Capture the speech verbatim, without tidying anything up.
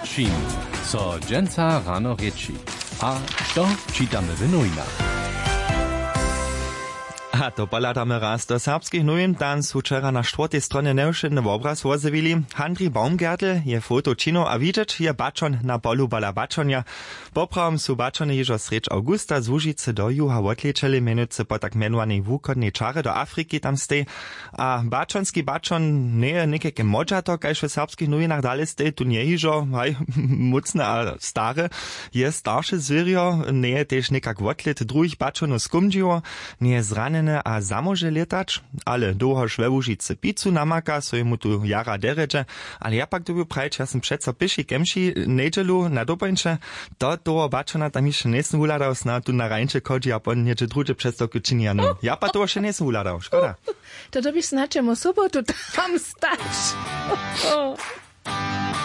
Čim so dźensa rano rěči, a to čitamy w nowinach. A to pohladamy raz do serbskich nowin. Tam su wčera na štwórtej stronje njewšědny wobraz wozjewili. Handrij Baumgertl je foto činił a widźeć je baćon na polu pola baćonja. Poprawom su baćony hižo srjedź awgusta z łužicy do juha wotlečeli, mjenujcy po tak mjenowanej wuchodnej čarje do afriki tam stej. A baćonski baćon njeje někajke modźato kaž w serbskich nowinach dale stej tu njehižo haj mócne a stare. Je starše zwěrjo, njeje tež někak wotlit druhich baćonow skómdźiło, njeje zranjene a zamóže lětać. Ale dołhož we łužicy picu namaka so jemu tu jara derjedźe. Ale ja pak dyrbju prajić, ja sym přeco pěši kemši njedźelu na dopońče. To toho baćona tam hišće njejsym wuhladał, sna tu na rańče chodźi a pon něhdźe druhdźe přestawku čini a no ja pak toho wšće njejsym wuhladał, škoda. To dyrbiš snadź jemu sobotu tam stać.